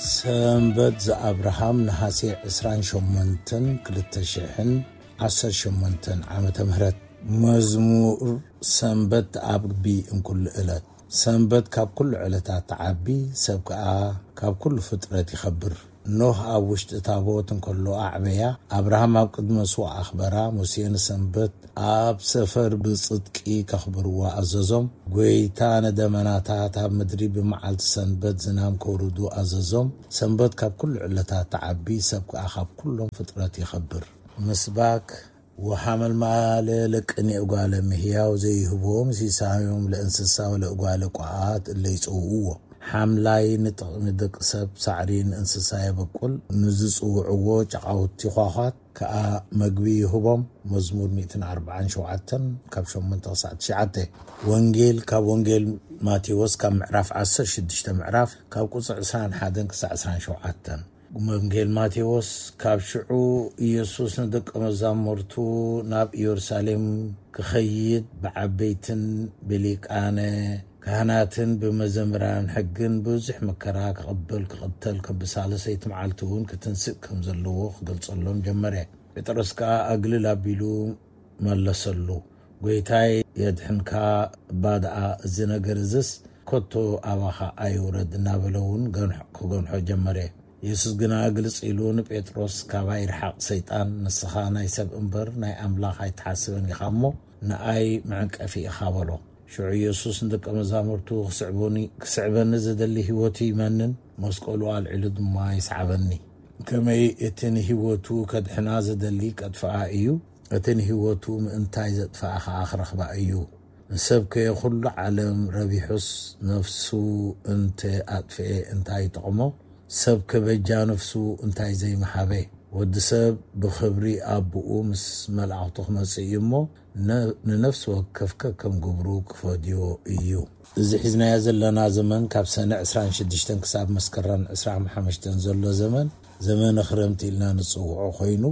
ሰንበት ዘኣብርሃም ነሃሴ ዕስራን ሸሞንተን ክልተ ሽሕን ዓሰርተ ሸሞንተን ዓመተ ምህረት። መዝሙር ሰንበት ኣብ ግቢ እንኩሉ ዕለት። ሰንበት ካብ ኩሉ ዕለታት ትዓቢ፣ ሰብ ከኣ ካብ ኩሉ ፍጥረት ይኸብር። ኖህ ኣብ ውሽጢ ታቦት እንከሎ ኣዕበያ፣ ኣብርሃም ኣብ ቅድሚ መስዋዕ ኣኽበራ፣ ሙሴ ንሰንበት ኣብ ሰፈር ብጽድቂ ከኽብርዋ ኣዘዞም። ጐይታ ንደመናታት ኣብ ምድሪ ብመዓልቲ ሰንበት ዝናም ከውርዱ ኣዘዞም። ሰንበት ካብ ኩሉ ዕለታት ትዓቢ፣ ሰብ ከኣ ካብ ኩሎም ፍጥረት ይኸብር። ምስባክ ወሓመልማለ ለቅኔ እጓለ ምህያው ዘይህቦም ሲሳዮም ለእንስሳ ወለእጓለ ቋዓት እለ ይጸውዕዎ። ሓምላይ ንጥቕሚ ደቂ ሰብ ሳዕሪ ንእንስሳ የበቁል፣ ንዝጽውዕዎ ጨቓውቲ ኳዃት ከኣ መግቢ ይህቦም። መዝሙር ሚእትን ኣርባዓን ሸውዓተን ካብ ሸሞንተ ክሳዕ ትሽዓተ። ወንጌል ካብ ወንጌል ማቴዎስ ካብ ምዕራፍ ዓሰርተ ሽዱሽተ ምዕራፍ ካብ ቁጽሪ ዕስራን ሓደን ክሳዕ ዕስራን ሸውዓተን። ወንጌል ማቴዎስ። ካብ ሽዑ ኢየሱስ ንደቀ መዛሙርቱ ናብ ኢየሩሳሌም ክኸይድ ብዓበይትን ብሊቃነ ካህናትን ብመዘምራን ሕግን ብዙሕ መከራ ክቕበል ክቕተል ከም ብሳልሰይቲ መዓልቲ እውን ክትንስእ ከም ዘለዎ ክገልጸሎም ጀመረ። ጴጥሮስ ከኣ ኣግልል ኣቢሉ መለሰሉ፣ "ጐይታይ የድሕንካ እባ ደኣ እዚ ነገር እዝስ ከቶ ኣባኻ ኣይውረድ" እናበለ እውን ገንሖ ክገንሖ ጀመረ። የሱስ ግና ግልጽ ኢሉ ንጴጥሮስ፣ "ካባይ ርሓቕ ሰይጣን፣ ንስኻ ናይ ሰብ እምበር ናይ ኣምላኽ ኣይትሓስብን ኢኻ እሞ ንኣይ መዕንቀፊ ኢኻ" በሎ። ሽዑ የሱስ ንደቀ መዛሙርቱ፣ "ክስዕቡኒ፣ ክስዕበኒ ዝደሊ ህይወቱ ይመንን፣ መስቀሉ ኣልዒሉ ድማ ይስዓበኒ። ከመይ እቲ ንህይወቱ ከድሕና ዝደሊ ከጥፍኣ እዩ፣ እቲ ንህይወቱ ምእንታይ ዘጥፍኣ ኸኣ ክረኽባ እዩ። ንሰብከ ኹሉ ዓለም ረቢሑስ ነፍሱ እንተ ኣጥፍኤ እንታይ ይጠቕሞ? ሰብከ በጃ ነፍሱ እንታይ ዘይምሃበ?" ወዲ ሰብ ብኽብሪ ኣቦኡ ምስ መላእኽቱ ክመጽእ እዩ እሞ፣ ነ-፣ ንነፍሲ ወከፍከ ከም ግብሩ ክፈድዮ እዩ። እዚ ሒዝናዮ ዘለና ዘመን ካብ ሰነ ዕስራን ሽዱሽተን ክሳብ መስከረም ዕስራን ሓሙሽተን ዘሎ ዘመን፣ ዘመነ ክረምቲ ኢልና ንጽውዖ ኮይኑ፣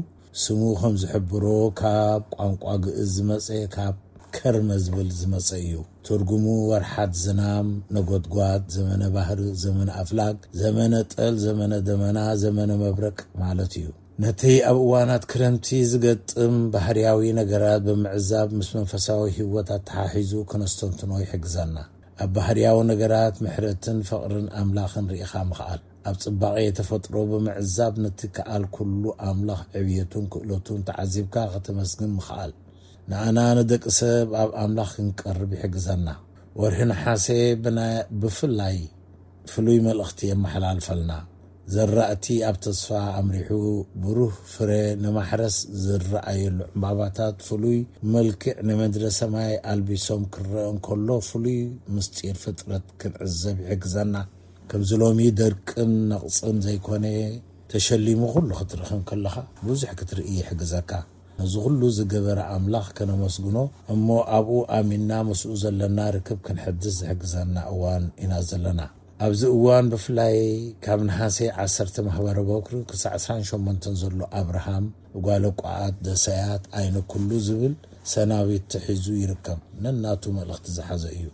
ስሙ ከም ዝሕብሮ ካብ ቋንቋ ግእዝ ዝመጸ፣ ካብ ከርመ ዝብል ዝመጸ እዩ። ትርጉሙ ወርሓት ዝናም፣ ነጎድጓድ፣ ዘመነ ባህሪ፣ ዘመነ ኣፍላግ፣ ዘመነ ጠል፣ ዘመነ ደመና፣ ዘመነ መብረቅ ማለት እዩ። ነቲ ኣብ እዋናት ክረምቲ ዝገጥም ባህርያዊ ነገራት ብምዕዛብ ምስ መንፈሳዊ ህይወት ኣተሓሒዙ ከነስተንትኖ ይሕግዘና። ኣብ ባህርያዊ ነገራት ምሕረትን ፍቕርን ኣምላኽን ርኢኻ ምኽኣል። ኣብ ጽባቐ ተፈጥሮ ብምዕዛብ ነቲ ከኣል ኩሉ ኣምላኽ ዕብየቱን ክእለቱን ተዓዚብካ ከተመስግን ምኽኣል። ንኣና ንደቂ ሰብ ኣብ ኣምላኽ ክንቀርብ ይሕግዘና። ወርሒ ነሓሴ ብና-፣ ብፍላይ ፍሉይ መልእኽቲ የመሓላልፈልና። ዘራእቲ ኣብ ተስፋ ኣምሪሑ ብሩህ ፍረ ንማሕረስ ዝረኣየሉ ዕምባባታት ፍሉይ መልክዕ ንምድረ ሰማይ ኣልቢሶም ክረአ እንከሎ ፍሉይ ምስጢር ፍጥረት ክንዕዘብ ይሕግዘና። ከምዚ ሎሚ ደርቅን ነቕጽን ዘይኮነ ተሸሊሙ ኩሉ ክትርኢ እንከለኻ ብዙሕ ክትርኢ ይሕግዘካ። ነዚ ኩሉ ዝገበረ ኣምላኽ ከነመስግኖ እሞ ኣብኡ ኣሚንና ምስኡ ዘለና ርክብ ክንሕድስ ዝሕግዘና እዋን ኢና ዘለና። ኣብዚ እዋን ብፍላይ ካብ ነሓሴ ዓሰርተ ማሕበረ በኩሪ ክሳዕ ዕስራን ሸሞንተን ዘሎ ኣብርሃም ጓለ ቋዓት ደሰያት ኣይነ ኩሉ ዝብል ሰናቢት ተሒዙ ይርከብ። ነናቱ መልእኽቲ ዝሓዘ እዩ።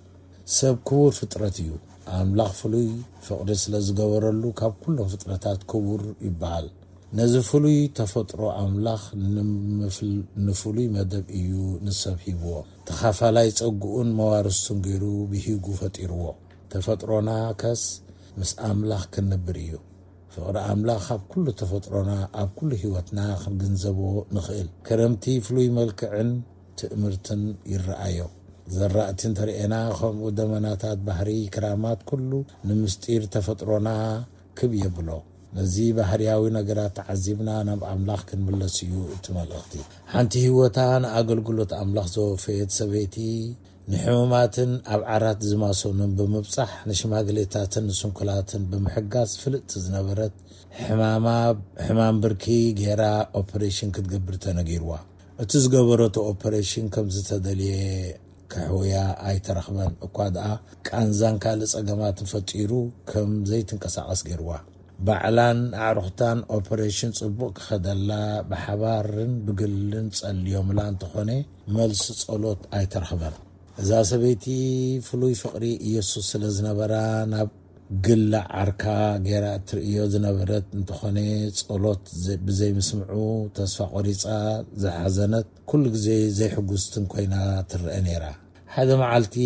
ሰብ ክቡር ፍጥረት እዩ። ኣምላኽ ፍሉይ ፍቕሪ ስለ ዝገበረሉ ካብ ኩሎም ፍጥረታት ክቡር ይበሃል። ነዚ ፍሉይ ተፈጥሮ ኣምላኽ ንምፍል-፣ ንፍሉይ መደብ እዩ ንሰብ ሂብዎ። ተኻፋላይ ጸግኡን መዋርስቱን ገይሩ ብሂጉ ፈጢርዎ። ተፈጥሮና ከስ ምስ ኣምላኽ ክንነብር እዩ። ፍቕሪ ኣምላኽ ኣብ ኩሉ ተፈጥሮና፣ ኣብ ኩሉ ህይወትና ክንግንዘቦ ንኽእል። ክረምቲ ፍሉይ መልክዕን ትእምርትን ይረኣዮ። ዘራእቲ እንተርኤና፣ ከምኡ ደመናታት ባሕሪ፣ ክራማት ኩሉ ንምስጢር ተፈጥሮና ክብ የብሎ። ነዚ ባህርያዊ ነገራት ተዓዚብና ናብ ኣምላኽ ክንምለስ እዩ እቲ መልእኽቲ። ሓንቲ ህይወታ ንኣገልግሎት ኣምላኽ ዘወፈየት ሰበይቲ ንሕሙማትን ኣብ ዓራት ዝማሰኑን ብምብጻሕ፣ ንሽማግሌታትን ንስንኩላትን ብምሕጋዝ ፍልጥቲ ዝነበረት፣ ሕማማ፣ ሕማም ብርኪ ገይራ ኦፐሬሽን ክትገብር ተነጊርዋ። እቲ ዝገበረቶ ኦፐሬሽን ከም ዝተደልየ ከሕውያ ኣይተረኽበን። እኳ ደኣ ቃንዛን ካልእ ጸገማትን ፈጢሩ ከም ዘይትንቀሳቐስ ገይርዋ። ባዕላን ኣዕሩኽታን ኦፐሬሽን ጽቡቕ ክኸደላ ብሓባርን ብግልን ጸልዮምላ እንተኾነ፣ መልሲ ጸሎት ኣይተረኽበን። እዛ ሰበይቲ ፍሉይ ፍቕሪ ኢየሱስ ስለ ዝነበራ፣ ናብ ግላ ዓርካ ገይራ እትርእዮ ዝነበረት እንተኾነ፣ ጸሎት ዘ-፣ ብዘይምስምዑ ተስፋ ቆሪጻ ዝሓዘነት፣ ኩሉ ግዜ ዘይሕጉስትን ኮይና ትረአ ነይራ። ሓደ መዓልቲ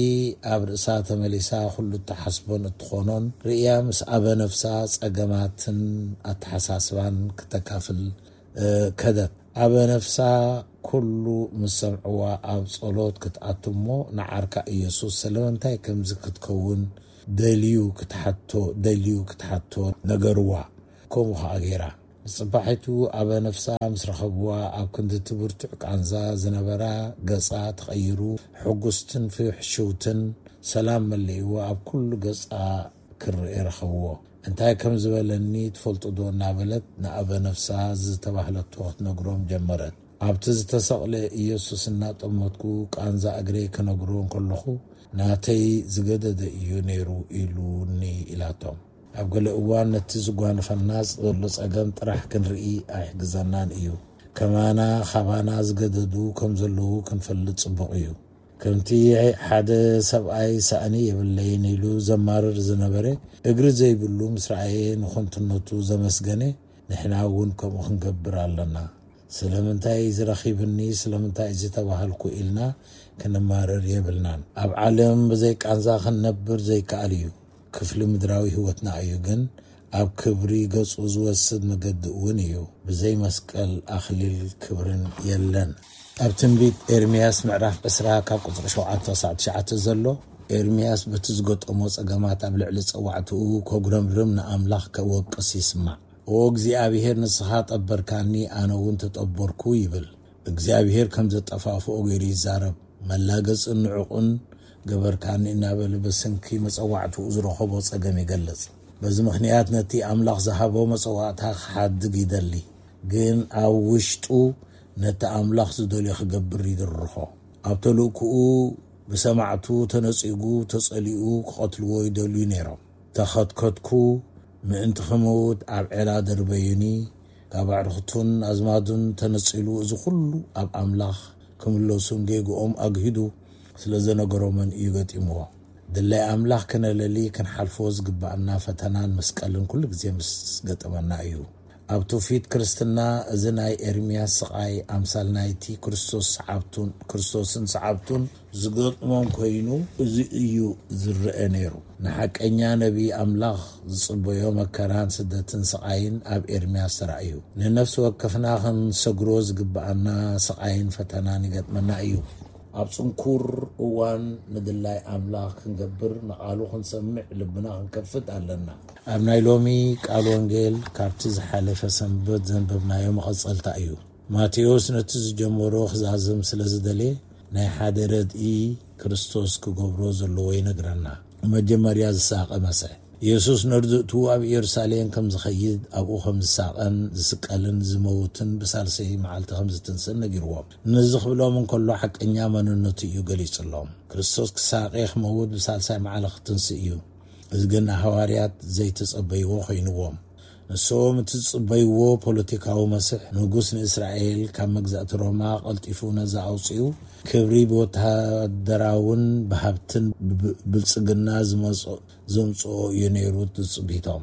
ኣብ ርእሳ ተመሊሳ ኩሉ እትሓስቦን እትኾኖን ርእያ፣ ምስ ኣበ ነፍሳ ጸገማትን ኣተሓሳስባን ክተካፍል፣ እ፣ ከደት። ኣበ ነፍሳ ኩሉ ምስ ሰምዕዋ ኣብ ጸሎት ክትኣቱ እሞ፣ ንዓርካ ኢየሱስ ስለምንታይ ከምዚ ክትከውን ደልዩ ክትሓቶ፣ ደልዩ ክትሓቶ ነገርዋ። ከምኡ ኸኣ ገይራ። ብጽባሒቱ ኣበ ነፍሳ ምስ ረኸብዋ፣ ኣብ ክንዲ እቲ ብርቱዕ ቃንዛ ዝነበራ ገጻ ተቐይሩ፣ ሕጉስትን ፍሕሽውትን ሰላም መሊእዎ ኣብ ኩሉ ገጻ ክርኤ ረኸብዎ። እንታይ ከም ዝበለኒ ትፈልጡ ዶ? እናበለት ንኣበ ነፍሳ ዝተባህለቶ ክትነግሮም ጀመረት። ኣብቲ ዝተሰቕለ ኢየሱስ እናጠመትኩ ቃንዛ እግረይ ክነግሮ እንከለኹ፣ ናተይ ዝገደደ እዩ ነይሩ ኢሉኒ ኢላቶም። ኣብ ገለ እዋን ነቲ ዝጓነፈና ዘሎ ጸገም ጥራሕ ክንርኢ ኣይሕግዘናን እዩ። ከማና ካባና ዝገደዱ ከም ዘለዉ ክንፈልጥ ጽቡቕ እዩ። ከምቲ ሓደ ሰብኣይ ሳእኒ የብለይን ኢሉ ዘማርር ዝነበረ፣ እግሪ ዘይብሉ ምስ ረኣየ ንኸንቱነቱ ዘመስገነ፣ ንሕና እውን ከምኡ ክንገብር ኣለና። ስለምንታይ እዚ ረኺብኒ፣ ስለምንታይ እዚ ተባህልኩ ኢልና ክንማረር የብልናን። ኣብ ዓለም ብዘይ ቃንዛ ክንነብር ዘይከኣል እዩ። ክፍሊ ምድራዊ ህይወትና እዩ፣ ግን ኣብ ክብሪ ገጹ ዝወስድ መገዲ እውን እዩ። ብዘይ መስቀል ኣኽሊል ክብርን የለን። ኣብ ትንቢት ኤርምያስ ምዕራፍ ዕስራ ካብ ቁጽሪ ሸውዓተ ክሳዕ ትሽዓተ ዘሎ፣ ኤርምያስ በቲ ዝገጠሞ ጸገማት ኣብ ልዕሊ ጸዋዕትኡ ከጉረምርም ንኣምላኽ ከወቅስ ይስማዕ። ኦ እግዚኣብሄር፣ ንስኻ ጠበርካኒ፣ ኣነ እውን ተጠበርኩ ይብል። እግዚኣብሄር ከም ዘጠፋፍኦ ገይሩ ይዛረብ። መላገጽን ንዑቕን ገበርካኒ እናበለ ብስንኪ መጸዋዕትኡ ዝረኸቦ ጸገም ይገልጽ። በዚ ምኽንያት ነቲ ኣምላኽ ዝሃቦ መጸዋዕታ ክሓድግ ይደሊ፣ ግን ኣብ ውሽጡ ነቲ ኣምላኽ ዝደልዮ ክገብር ይድርኾ። ኣብ ተልእክኡ ብሰማዕቱ ተነጺጉ፣ ተጸሊኡ ክቐትልዎ ይደልዩ ነይሮም። ተኸትከትኩ፣ ምእንቲ ክመውት ኣብ ዔላ ደርበዩኒ። ካብ ኣዕሩኽቱን ኣዝማዱን ተነጺሉ፣ እዚ ኩሉ ኣብ ኣምላኽ ክምለሱን ጌግኦም ኣግሂዱ ስለ ዘነገሮምን እዩ ገጢምዎ። ድላይ ኣምላኽ ክነለሊ ክንሓልፎ ዝግባኣና ፈተናን መስቀልን ኩሉ ግዜ ምስ ገጠመና እዩ። ኣብ ትውፊት ክርስትና፣ እዚ ናይ ኤርምያስ ስቓይ ኣምሳል ናይቲ ክርስቶስ ሰዓብቱን፣ ክርስቶስን ሰዓብቱን ዝገጥሞም ኮይኑ፣ እዚ እዩ ዝረአ ነይሩ። ንሓቀኛ ነቢ ኣምላኽ ዝጽበዮ መከራን ስደትን ስቓይን ኣብ ኤርምያስ ተራእዩ። ንነፍሲ ወከፍና ክንሰግሮ ዝግብኣና ስቓይን ፈተናን ይገጥመና እዩ። ኣብ ጽንኩር እዋን ንድላይ ኣምላኽ ክንገብር፣ ንቓሉ ክንሰምዕ ልብና ክንከፍት ኣለና። ኣብ ናይ ሎሚ ቃል ወንጌል ካብቲ ዝሓለፈ ሰንበት ዘንበብናዮ መቐጸልታ እዩ። ማቴዎስ ነቲ ዝጀመሮ ክዛዝም ስለ ዝደልየ፣ ናይ ሓደ ረድኢ ክርስቶስ ክገብሮ ዘለዎ ይነግረና። መጀመርያ ዝሳቐ መስሕ። የሱስ ነርድእቱ ኣብ ኢየሩሳሌም ከም ዝኸይድ፣ ኣብኡ ከም ዝሳቐን ዝስቀልን ዝመውትን ብሳልሰይ መዓልቲ ከም ዝትንስእን ነጊርዎም። ነዚ ክብሎም እንከሎ ሓቀኛ መንነቱ እዩ ገሊጹሎም። ክርስቶስ ክሳቐ፣ ክመውት፣ ብሳልሳይ መዓልቲ ክትንስእ እዩ። እዚ ግን ንሃዋርያት ዘይተጸበይዎ ኮይንዎም። ንሶም እቲ ዝጽበይዎ ፖለቲካዊ መስሕ፣ ንጉስ ንእስራኤል ካብ መግዛእቲ ሮማ ቀልጢፉ ነጻ ኣውጺኡ፣ ክብሪ ብወተሃደራውን ብሃብትን ብ-፣ ብልጽግና ዝመጽኦ፣ ዘምጽኦ እዩ ነይሩ ትጽቢቶም።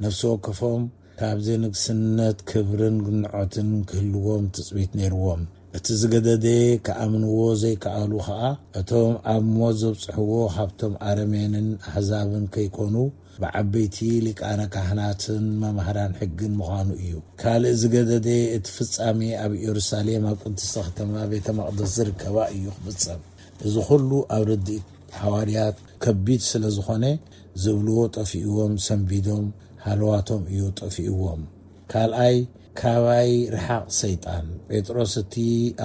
ነፍሲ ወከፎም ካብዚ ንግስነት ክብርን ግንዖትን ክህልዎም ትጽቢት ነይርዎም። እቲ ዝገደደ ክኣምንዎ ዘይከኣሉ ኸኣ፣ እቶም ኣብ ሞት ዘብጽሕዎ ካብቶም ኣረሜንን ኣህዛብን ከይኮኑ፣ ብዓበይቲ ሊቃነ ካህናትን መማህራን ሕግን ምዃኑ እዩ። ካልእ ዝገደደ፣ እቲ ፍጻሜ ኣብ ኢየሩሳሌም ኣብ ቅድስቲ ከተማ ቤተ መቕደስ ዝርከባ እዩ ክፍጸም። እዚ ኹሉ ኣብ ርድኢት ሃዋርያት ከቢድ ስለ ዝኾነ፣ ዝብልዎ ጠፊእዎም፣ ሰንቢዶም፣ ሃለዋቶም እዩ ጠፊእዎም። ካልኣይ፣ ካባይ ርሓቕ ሰይጣን። ጴጥሮስ እቲ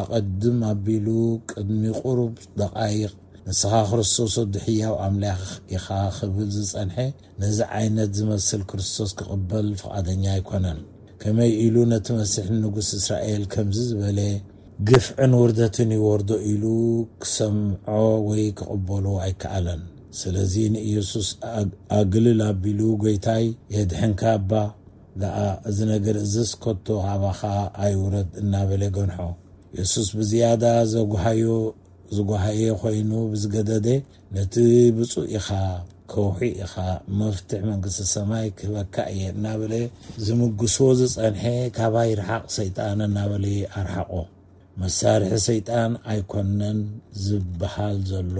ኣቐድም ኣቢሉ ቅድሚ ቁሩብ ደቓይቕ፣ "ንስኻ ክርስቶስ ወዲ ሕያው ኣምላኽ ኢኻ" ክብል ዝጸንሐ፣ ነዚ ዓይነት ዝመስል ክርስቶስ ክቕበል ፍቓደኛ ኣይኮነን። ከመይ ኢሉ ነቲ መሲሕ ንጉስ እስራኤል ከምዚ ዝበለ ግፍዕን ውርደትን ይወርዶ ኢሉ ክሰምዖ ወይ ክቕበሎ ኣይከኣለን። ስለዚ ንኢየሱስ ኣግ-፣ ኣግልል ኣቢሉ፣ "ጐይታይ፣ የድሕንካ እባ ደኣ፣ እዚ ነገር እዝስ ከቶ ካባኻ ኣይውረድ" እናበለ ገንሖ። የሱስ ብዝያዳ ዘጉሃዮ፣ ዝጓሃየ ኾይኑ ብዝገደደ፣ ነቲ "ብፁዕ ኢኻ፣ ከውሒ ኢኻ፣ መፍትሕ መንግስቲ ሰማይ ክህበካ እየ እናበለ ዝምግሶ ዝጸንሐ፣ ካባይ ርሓቕ ሰይጣን እናበለ ኣርሓቖ። መሳርሒ ሰይጣን ኣይኮነን ዝበሃል ዘሎ፣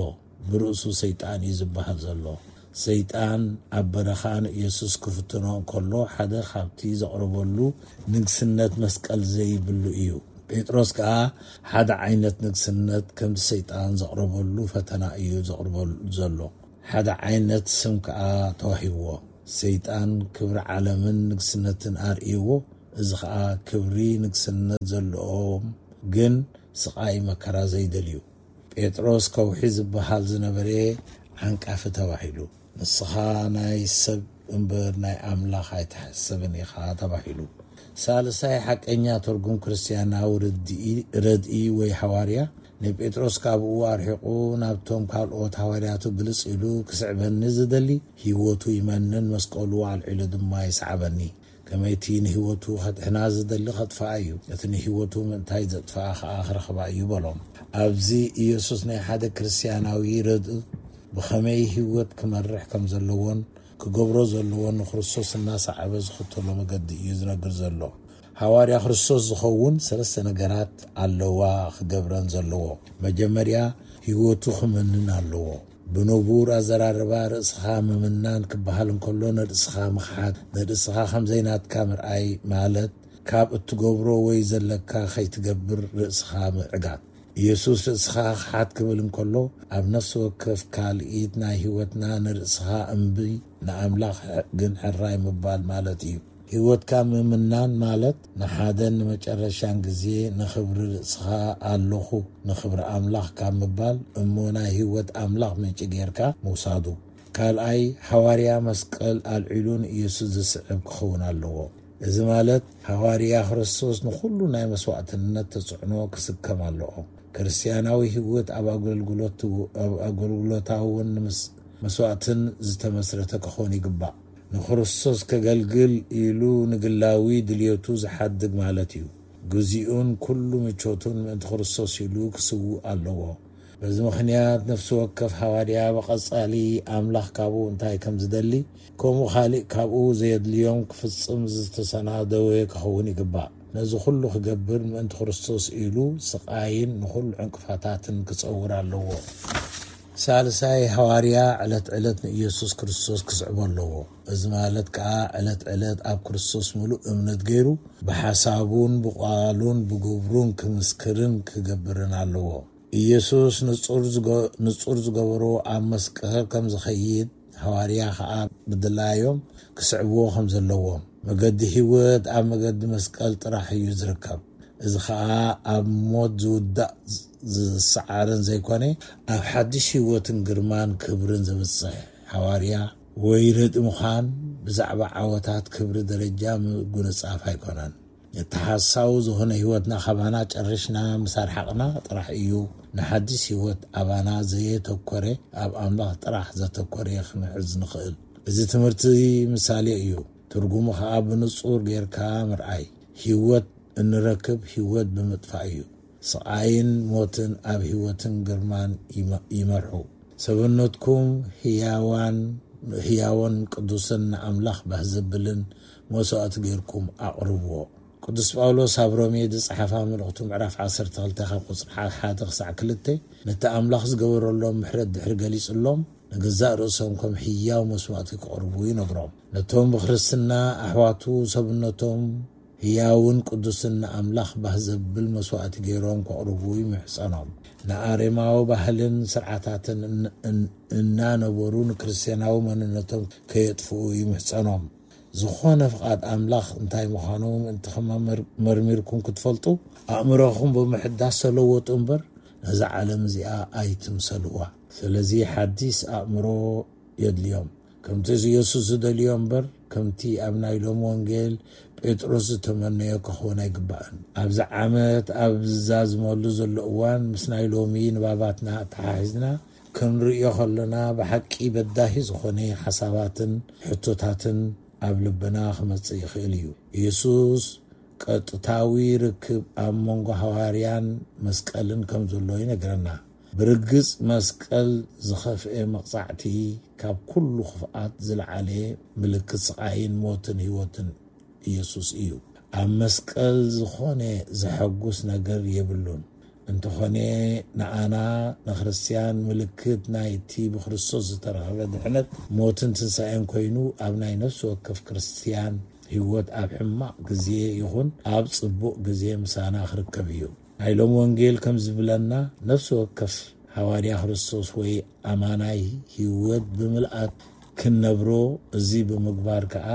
ብርእሱ ሰይጣን እዩ ዝበሃል ዘሎ። ሰይጣን ኣብ በረኻ ንኢየሱስ ክፍትኖ እንከሎ፣ ሓደ ካብቲ ዘቕረበሉ ንግስነት መስቀል ዘይብሉ እዩ። ጴጥሮስ ከኣ ሓደ ዓይነት ንግስነት ከምቲ ሰይጣን ዘቕረበሉ ፈተና እዩ ዘቕርበሉ ዘሎ። ሓደ ዓይነት ስም ከኣ ተዋሂብዎ። ሰይጣን ክብሪ ዓለምን ንግስነትን ኣርእይዎ። እዚ ኸኣ ክብሪ ንግስነት ዘለዎም ግን ስቓይ መከራ ዘይደልዩ። ጴጥሮስ ከውሒ ዝበሃል ዝነበረ ዓንቃፊ ተባሂሉ። ንስኻ ናይ ሰብ እምበር ናይ ኣምላኽ ኣይትሕሰብን ኢኻ ተባሂሉ። ሳልሳይ ሓቀኛ ትርጉም ክርስትያናዊ ርድኢ፣ ረድኢ ወይ ሃዋርያ ንጴጥሮስ ካብኡ ኣርሒቑ ናብቶም ካልኦት ሃዋርያቱ ግልጽ ኢሉ ክስዕበኒ ዝደሊ ህይወቱ ይመንን መስቀሉ ኣልዒሉ ድማ ይስዓበኒ። ከመይቲ ንህይወቱ ከድሕና ዝደሊ ከጥፍኣ እዩ፣ እቲ ንህይወቱ ምእንታይ ዘጥፍኣ ኸኣ ክረኽባ እዩ በሎም። ኣብዚ ኢየሱስ ናይ ሓደ ክርስትያናዊ ረድእ ብኸመይ ህይወት ክመርሕ ከም ዘለዎን ክገብሮ ዘለዎን ንክርስቶስ እናሰዓበ ዝኽተሎ መገዲ እዩ ዝነግር ዘሎ። ሃዋርያ ክርስቶስ ዝኸውን ሰለስተ ነገራት ኣለዋ ክገብረን ዘለዎ። መጀመርያ ህይወቱ ክመንን ኣለዎ። ብንቡር ኣዘራርባ ርእስኻ ምምናን ክበሃል እንከሎ ንርእስኻ ምኽሓድ፣ ንርእስኻ ከም ዘይናትካ ምርኣይ ማለት ካብ እትገብሮ ወይ ዘለካ ከይትገብር ርእስኻ ምዕጋት። ኢየሱስ ርእስኻ ክሓት ክብል እንከሎ ኣብ ነፍሲ ወከፍ ካልኢት ናይ ህይወትና ንርእስኻ እምቢ ንኣምላኽ ግን ሕራይ ምባል ማለት እዩ። ህይወትካ ምምናን ማለት ንሓደን ንመጨረሻን ግዜ ንኽብሪ ርእስኻ ኣለኹ ንኽብሪ ኣምላኽ ካብ ምባል እሞ ናይ ህይወት ኣምላኽ ምንጪ ጌርካ ምውሳዱ። ካልኣይ፣ ሃዋርያ መስቀል ኣልዒሉ ንኢየሱስ ዝስዕብ ክኸውን ኣለዎ። እዚ ማለት ሃዋርያ ክርስቶስ ንኹሉ ናይ መስዋዕትነት ተጽዕኖ ክስከም ኣለዎ። ክርስትያናዊ ህይወት ኣብ ኣገልግሎት፣ ኣብ ኣገልግሎታውን ምስ መስዋዕትን ዝተመስረተ ክኾን ይግባእ። ንክርስቶስ ከገልግል ኢሉ ንግላዊ ድልየቱ ዝሓድግ ማለት እዩ። ግዜኡን ኩሉ ምቾቱን ምእንቲ ክርስቶስ ኢሉ ክስውእ ኣለዎ። በዚ ምኽንያት ነፍሲ ወከፍ ሃዋርያ ብቐጻሊ ኣምላኽ ካብኡ እንታይ ከም ዝደሊ፣ ከምኡ ካልእ ካብኡ ዘየድልዮም ክፍጽም ዝተሰናደወ ክኸውን ይግባእ። ነዚ ኩሉ ክገብር ምእንቲ ክርስቶስ ኢሉ ስቓይን ንኹሉ ዕንቅፋታትን ክጸውር ኣለዎ። ሳልሳይ፣ ሃዋርያ ዕለት ዕለት ንኢየሱስ ክርስቶስ ክስዕቦ ኣለዎ። እዚ ማለት ከኣ ዕለት ዕለት ኣብ ክርስቶስ ምሉእ እምነት ገይሩ ብሓሳቡን ብቓሉን ብግብሩን ክምስክርን ክገብርን ኣለዎ። ኢየሱስ ንጹር ዝገ-፣ ንጹር ዝገበሮ ኣብ መስቀል ከም ዝኸይድ ሃዋርያ ከኣ ብድላዮም ክስዕብዎ ከም ዘለዎም። መገዲ ህይወት ኣብ መገዲ መስቀል ጥራሕ እዩ ዝርከብ። እዚ ኸኣ ኣብ ሞት ዝውዳእ ዝ-፣ ዝሰዓርን ዘይኮነ፣ ኣብ ሓድሽ ህይወትን ግርማን ክብርን ዘብጽሕ ሃዋርያ ወይ ረድኢ ምዃን ብዛዕባ ዓወታት ክብሪ ደረጃ ምጉንጻፍ ኣይኮነን። እቲ ሓሳዊ ዝኾነ ህይወትና ካባና ጨሪሽና ምስ ኣርሓቕና ጥራሕ እዩ ንሓድሽ ህይወት ኣባና ዘየተኮረ፣ ኣብ ኣምላኽ ጥራሕ ዘተኮረ ክንሕዝ ንኽእል። እዚ ትምህርቲ ምሳሌ እዩ። ትርጉሙ ኸኣ ብንጹር ጌርካ ምርኣይ። ህይወት እንረክብ ህይወት ብምጥፋእ እዩ። ስቓይን ሞትን ኣብ ህይወትን ግርማን ይመ-፣ ይመርሑ። ሰብነትኩም ህያዋን፣ ህያውን ቅዱስን ንኣምላኽ ባህ ዘብልን መስዋእቲ ጌርኩም ኣቕርብዎ። ቅዱስ ጳውሎስ ኣብ ሮሜ ዝጸሓፋ መልእኽቱ ምዕራፍ ዓሰርተ ክልተ ካብ ቁጽሪ ሓደ ክሳዕ ክልተ ነቲ ኣምላኽ ዝገበረሎም ምሕረት ድሕሪ ገሊጹሎም፣ ንገዛእ ርእሶም ከም ህያው መስዋእቲ ክቕርቡ ይነግሮም። ነቶም ብክርስትና ኣሕዋቱ ሰብነቶም ህያውን ቅዱስን ንኣምላኽ ባህ ዘብል መስዋእቲ ገይሮም ከቕርቡ ይምሕጸኖም። ንኣሬማዊ ባህልን ስርዓታትን እን-፣ እን-፣ እናነበሩ ንክርስትያናዊ መንነቶም ከየጥፍኡ ይምሕጸኖም። ዝኾነ ፍቓድ ኣምላኽ እንታይ ምዃኑ ምእንቲ ከመመር-፣ መርሚርኩም ክትፈልጡ፣ ኣእምሮኹም ብምሕዳስ ተለወጡ እምበር፣ ነዛ ዓለም እዚኣ ኣይትምሰልዋ። ስለዚ ሓዲስ ኣእምሮ የድልዮም። ከምቲ ኢየሱስ ዝደልዮ እምበር፣ ከምቲ ኣብ ናይ ሎሚ ወንጌል ጴጥሮስ ዝተመነዮ ክኸውን ኣይግባእን። ኣብዚ ዓመት ኣብ ዝዛዝመሉ ዘሎ እዋን፣ ምስ ናይ ሎሚ ንባባትና ኣተሓሒዝና ክንርእዮ ከለና፣ ብሓቂ በዳሂ ዝኾነ ሓሳባትን ሕቶታትን ኣብ ልብና ክመጽእ ይኽእል እዩ። ኢየሱስ ቀጥታዊ ርክብ ኣብ መንጎ ሃዋርያን መስቀልን ከም ዘሎ ይነግረና። ብርግጽ መስቀል ዝኸፍኤ መቕጻዕቲ ካብ ኩሉ ክፍኣት ዝለዓለ ምልክት ስቓይን ሞትን ህይወትን ኢየሱስ እዩ። ኣብ መስቀል ዝኾነ ዘሐጉስ ነገር የብሉን። እንተኾነ ንኣና ንክርስትያን ምልክት ናይቲ ብክርስቶስ ዝተረኸበ ድሕነት ሞትን ትንሳኤን ኮይኑ ኣብ ናይ ነፍሲ ወከፍ ክርስትያን ህይወት ኣብ ሕማቕ ግዜ ይኹን ኣብ ጽቡቕ ግዜ ምሳና ክርከብ እዩ። ናይ ሎም ወንጌል ከም ዝብለና ነፍሲ ወከፍ ሃዋርያ ክርስቶስ ወይ ኣማናይ ህይወት ብምልኣት ክንነብሮ፣ እዚ ብምግባር ከኣ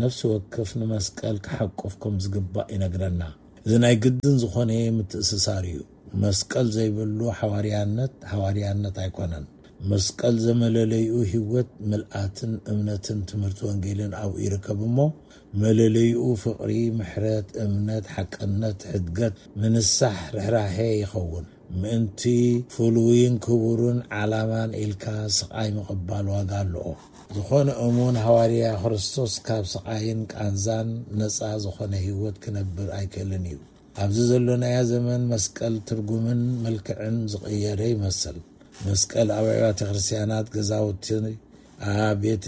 ነፍሲ ወከፍ ንመስቀል ክሓቁፍ ከም ዝግባእ ይነግረና። እዚ ናይ ግድን ዝኾነ ምትእስሳር እዩ። መስቀል ዘይብሉ ሓዋርያነት ሓዋርያነት ኣይኮነን። መስቀል ዘመለለይኡ ህይወት ምልኣትን እምነትን ትምህርቲ ወንጌልን ኣብኡ ይርከብ እሞ መለለይኡ ፍቕሪ፣ ምሕረት፣ እምነት፣ ሓቅነት፣ ሕድገት፣ ምንሳሕ፣ ርሕራሄ ይኸውን። ምእንቲ ፍሉይን ክቡርን ዓላማን ኢልካ ስቓይ ምቕባል ዋጋ ኣለኦ። ዝኾነ እሙን ሃዋርያ ክርስቶስ ካብ ስቓይን ቃንዛን ነጻ ዝኾነ ህይወት ክነብር ኣይክእልን እዩ። ኣብዚ ዘሎናያ ዘመን መስቀል ትርጉምን መልክዕን ዝቐየረ ይመስል። መስቀል ኣብ ኣብያተ ክርስቲያናት፣ ገዛውቲ፣ ኣብ ቤት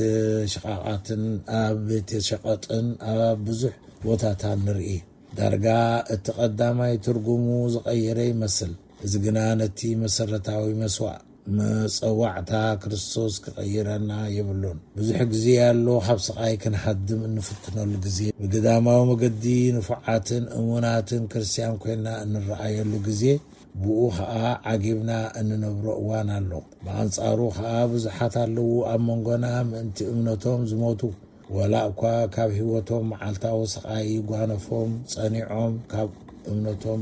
ሽቓቓትን ኣብ ቤት ሸቐጥን ኣብ ብዙሕ ቦታታት ንርኢ። ዳርጋ እቲ ቀዳማይ ትርጉሙ ዝቐየረ ይመስል። እዚ ግና ነቲ መሰረታዊ መስዋዕ መጸዋዕታ ክርስቶስ ክቐይረና የብሉን። ብዙሕ ግዜ ኣሎ ካብ ስቓይ ክንሃድም እንፍትነሉ ግዜ። ብግዳማዊ መገዲ ንፉዓትን እሙናትን ክርስትያን ኮይንና እንረኣየሉ ግዜ፣ ብኡ ኸኣ ዓጊብና እንነብሮ እዋን ኣሎ። ብኣንጻሩ ኸኣ ብዙሓት ኣለዉ ኣብ መንጎና ምእንቲ እምነቶም ዝሞቱ፣ ዋላ እኳ ካብ ህይወቶም መዓልታዊ ስቓይ ይጓነፎም ጸኒዖም ካብ እምነቶም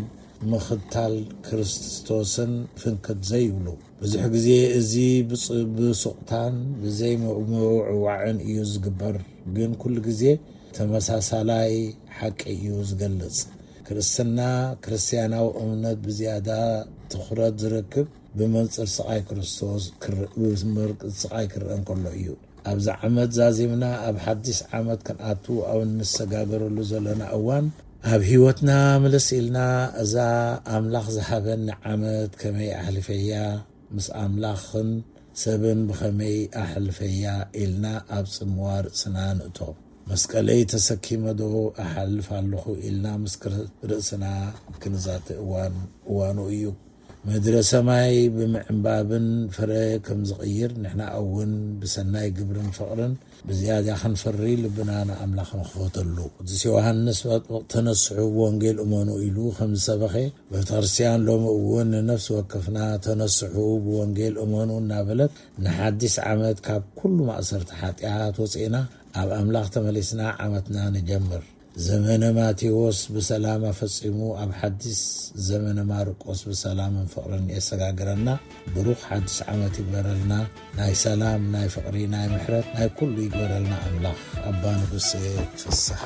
ምኽታል ክርስቶስን ፍንክት ዘይብሉ። ብዙሕ ግዜ እዚ ብጽ-፣ ብሱቕታን ብዘይምውዕዋዕን እዩ ዝግበር፣ ግን ኩሉ ግዜ ተመሳሳላይ ሓቂ እዩ ዝገልጽ። ክርስትና፣ ክርስትያናዊ እምነት ብዝያዳ ትኹረት ዝረክብ ብመንጽር ስቓይ ክርስቶስ ክር-፣ ብመንጽር ስቓይ ክረአ እንከሎ እዩ። ኣብዚ ዓመት ዛዚምና ኣብ ሓድሽ ዓመት ክንኣቱ ኣብ እንሰጋገረሉ ዘለና እዋን፣ ኣብ ህይወትና ምልስ ኢልና፣ እዛ ኣምላኽ ዝሃበኒ ዓመት ከመይ ኣሕሊፈያ፣ ምስ ኣምላኽን ሰብን ብኸመይ ኣሕልፈያ ኢልና ኣብ ጽምዋ ርእስና ንእቶ። መስቀለይ ተሰኪመ ዶ እሓልፍ ኣለኹ ኢልና ምስ ክር-፣ ርእስና ክንዛተ እዋን እዋኑ እዩ። ምድረ ሰማይ ብምዕንባብን ፍረ ከም ዝቕይር፣ ንሕና እውን ብሰናይ ግብርን ፍቕርን ብዝያዳ ክንፈሪ ልብና ንኣምላኽ ንኽፈተሉ። ቅዱስ ዮሃንስ መጥምቕ "ተነስሑ፣ ብወንጌል እመኑ" ኢሉ ከም ዝሰበኸ፣ ቤተ ክርስቲያን ሎሚ እውን ንነፍሲ ወከፍና "ተነስሑ፣ ብወንጌል እመኑ" እናበለት፣ ንሓድሽ ዓመት ካብ ኩሉ ማእሰርቲ ሓጢኣት ወፂእና ኣብ ኣምላኽ ተመሊስና ዓመትና ንጀምር። ዘመነ ማቴዎስ ብሰላም ኣፈጺሙ ኣብ ሓድሽ ዘመነ ማርቆስ ብሰላምን ፍቕርን የሰጋግረና። ብሩኽ ሓድሽ ዓመት ይግበረልና። ናይ ሰላም፣ ናይ ፍቕሪ፣ ናይ ምሕረት፣ ናይ ኩሉ ይግበረልና ኣምላኽ። ኣባ ንጉሴ ፍስሓ።